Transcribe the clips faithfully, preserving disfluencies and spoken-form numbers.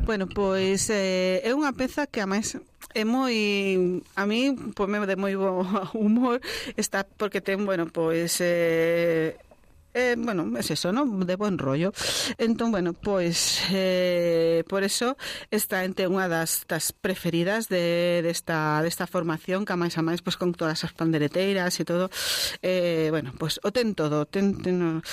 Bueno, pois eh, é unha peza que a máis é moi, a mí pois me de moi bo humor, está porque ten, bueno, pois eh Eh, bueno, es eso, ¿no? De buen rollo. Entón, bueno, pois eh, por eso está entre unha das, das preferidas de desta de desta formación, que a máis a máis pois con todas as pandereteiras e todo. Eh, bueno, pois o ten todo, ten, ten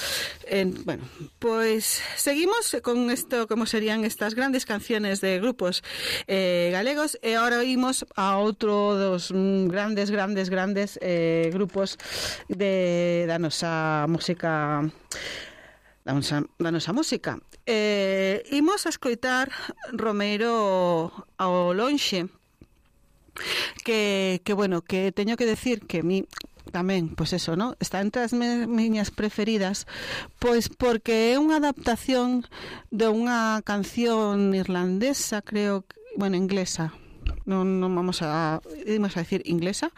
eh, bueno, pois seguimos con isto, como serían estas grandes canciones de grupos eh, galegos, e agora oímos a outro dos mm, grandes, grandes, grandes eh, grupos de da nosa música da nosa, da nosa música. Eh, imos a escoitar Romeiro ao lonxe, que, que bueno, que teño que decir que mi tamén, pois eso, ¿no? Está entre as me, miñas preferidas, pois porque é unha adaptación de unha canción irlandesa, creo, bueno, inglesa. Non, non vamos a vamos a decir inglesa,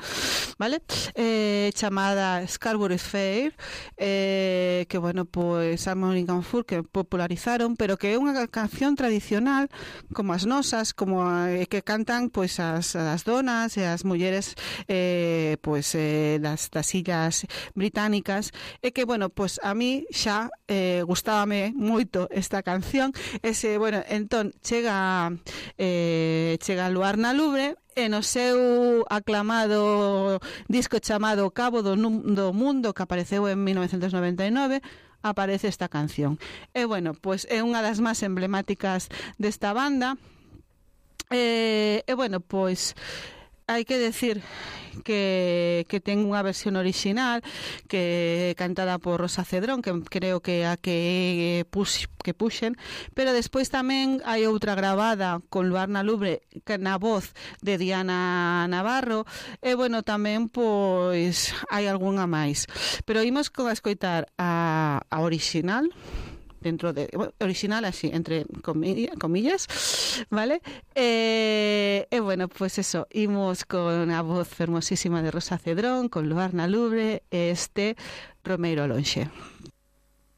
vale? Eh, chamada Scarborough Fair, eh, que bueno, pois Harmony and Fur que popularizaron, pero que é unha canción tradicional como as nosas, como a, que cantan pois as, as donas e as mulleres eh, pois eh, das, das illas británicas, e que bueno, pois a mí xa eh, gustábame moito esta canción. Ese, bueno, entón chega eh, chega a Luar na Lubre e no seu aclamado disco chamado Cabo do, do Mundo, que apareceu en mil novecentos noventa e nove, aparece esta canción. E bueno, pois é unha das máis emblemáticas desta banda. E, e bueno, pois hai que decir que, que ten unha versión original que cantada por Rosa Cedrón, que creo que a que pux, que puxen, pero despois tamén hai outra gravada con Luar na Lubre, que na voz de Diana Navarro, e bueno, tamén pois hai algunha máis, pero imos con a escoitar a, a original, dentro de original así entre comillas, comillas vale, e eh, eh, bueno, pues eso, imos con a voz hermosísima de Rosa Cedrón, con Luar na Lubre, este Romeiro ao lonxe.